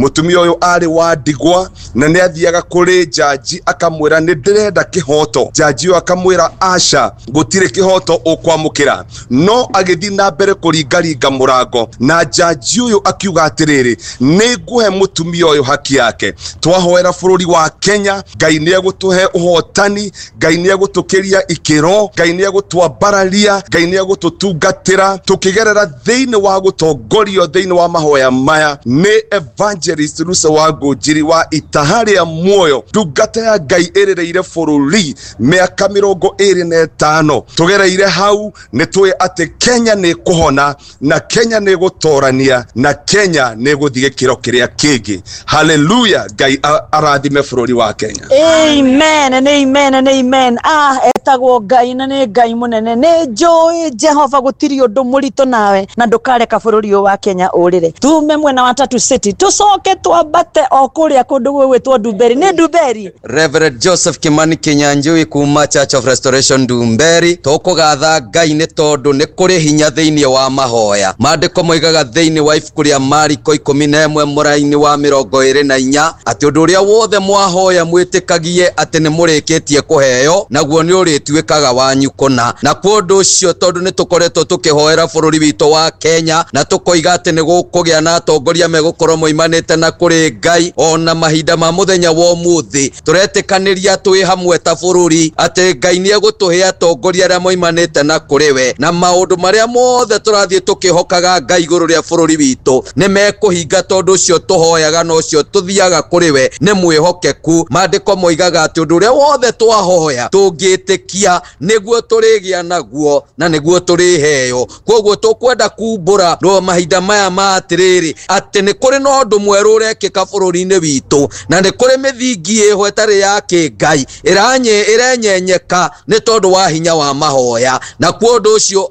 Mutumia uyu ari wa ndigwa na nĩ athiaga kũrĩ njanji akamwĩra nĩ ndĩrenda kĩhoto. Njanji ũyũ akamwĩra aca, gũtirĩ kĩhoto ũkwamũkĩra, no agĩthiĩ na mbere kũringaringa mũrango na njanji ũyũ akiuga atĩrĩrĩ, nĩ ngũhe mũtumia ũyũ haki yake. Twahoera bũrũri wa Kenya, Ngai nĩ egũtũhe ũhotani, Ngai nĩ egũtũkĩria ikĩro, Ngai nĩ egũtwambararia, Ngai nĩ egũtũtungatĩra tũkĩgerera thĩinĩ wa gũtongorio thĩinĩ wa mahoya maya nĩ Evangelist Rusa wa Ngũnjiri wa Itaha rĩa Muoyo, ndungata ya Ngai ĩrĩrĩire bũrũri mĩaka 25. Tũgereire hau nĩ tũĩ atĩ Kenya nĩ kũhona na Kenya nĩ gũtorania na Kenya nĩ gũthiĩ gĩkĩro kĩrĩa kĩngĩ. Haleluya! Ngai arathime bũrũri wa Kenya. Amen and amen and amen. Ah, etagwo Ngai na nĩ Ngai mũnene. Nĩ njũĩ Jehova gũtirĩ ũndũ mũritũ nawe na ndũkareka bũrũri ũyũ wa Kenya ũrĩre. Tume mwena wa Tatu City tũcoke twambate o kũrĩa kũndũ gwĩgwĩtwo Ndumberi. Nĩ Ndumberi. Reverend Joseph Kimani Kinyanjui kuma Church of Restoration Ndumberi. Tũkũgatha Ngai nĩ tondũ nĩ kũrĩ hinya thĩinĩ wa mahoya. Maandĩko moigaga thĩinĩ wa ibuku rĩa Mariko 11 mũraini wa 24 atĩ ũndũ ũrĩa wothe mwahoya mwĩtĩkagie atĩ nĩ mũrĩkĩtie kũheo, naguo nĩ ũrĩtuĩkaga wanyu kũna. Na kwa ũndũ ũcio, tondũ nĩ tũkoretwo tũkĩhoera bũrũri witũ wa Kenya na tũkoiga atĩ nĩ gũkũgĩa na atongoria megũkorwo moimanĩte na kũrĩ Ngai, ona mahinda ma mũthenya wa ũmũthĩ tũretĩkanĩria twĩ hamwe ta bũrũri atĩ Ngai nĩ egũtũhe atongoria arĩa moimanĩte na kũrĩ we, na maũndũ marĩa mothe tũrathiĩ tũkĩhokaga Ngai igũrũ rĩa bũrũri witũ nĩ mekũhinga, tondũ ũcio tũhoyaga na ũcio tũthiaga kũrĩ we nĩ mwĩhokeku. Maandĩko moigaga atĩ ũndũ ũrĩa wothe twahoya tũngĩtĩkia nĩguo tũrĩgĩa naguo na nĩguo tũrĩheo. Koguo tũkwenda kumbũra no mahinda maya ma atĩrĩrĩ atĩ nĩ kũrĩ na ũndũ mwerũ ũrekĩka bũrũri-inĩ witũ, na nĩ kũrĩ mĩthingi ĩho ĩtarĩ ya kĩngai ĩrenyenyeka nĩ tondũ wa hinya wa mahoya. Na kwa ũndũ ũcio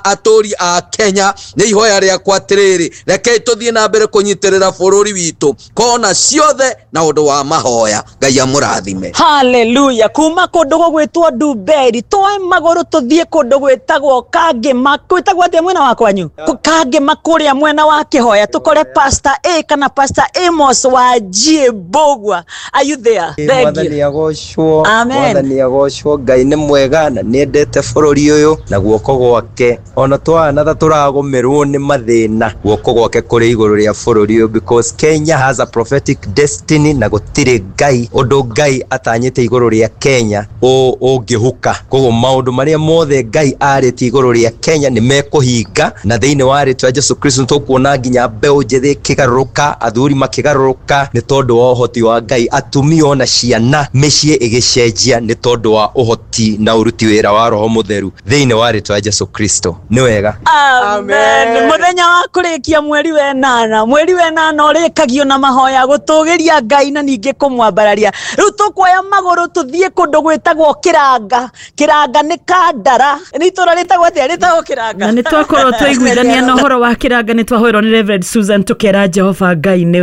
atũri a Kenya, nĩ ihoya rĩakwa atĩrĩrĩ, rekei tũthiĩ na mbere kũnyitĩrĩra bũrũri witũ kona ciothe na ũndũ wa mahoya. Ngai amũrathime. Haleluya. Kuma kũndũ gũgwĩtwo Ndumberi twoe magũrũ tũthiĩ kũndũ gwĩtagwo Kangĩma. Gwĩtagwo atĩa mwena wa kwanyu? Kangĩma kũrĩa mwena wa Kĩhoya, tũkore Pastor A kana Pastor Amos wa G Mbũgua. Are you there? Thank you. Mwathani agocwo. Amen. Mwathani agocwo. Ngai nĩ mwega na nĩendete bũrũri ũyũ na guoko gwake, ona twana ta tũragũmĩrwo nĩ mathĩna, guoko gwake kũrĩ igũrũ rĩa bũrũri ũyũ, because Kenya has a prophetic destiny na gũtirĩ Ngai ũndũ Ngai atanyĩte igũrũ rĩa Kenya ũngĩhuka. Koguo maũndũ marĩa mothe Ngai arĩtie igũrũ rĩa Kenya nĩ mekũhinga, na thĩinĩ wa rĩtwa Jesu Kristo tũkuona nginya mbeũ njĩthĩ ĩkĩgarũrũka, athuri makĩgarũrũka nĩ tondũ wa ũhoti wa Ngai, atumia ona ciana mĩciĩ ĩgĩcenjia nĩ tondũ wa ũhoti na ũruti wĩra wa Roho Mũtheru thĩinĩ wa rĩtwa Jesu Kristo. Nĩ wega. Amen. Mũthenya wa kũrĩkia mweri wa ĩnana, mweri wa ĩnana ũrĩkagio na mahoya gũtũgĩria Ngai na ningĩ kũmwambararia. Rĩu tũkuoya magũrũ tũthiĩ kũndũ gwĩtagwo Kĩranga. Kĩranga nĩ Kandara. Nĩ itũra rĩtagwo atĩa? Rĩtagwo Kĩranga. Na nĩ twakorwo twaiguithania na ũhoro wa Kĩranga, nĩ twahoerwo nĩ Reverend Susan, tũkera Jehova Ngai nĩ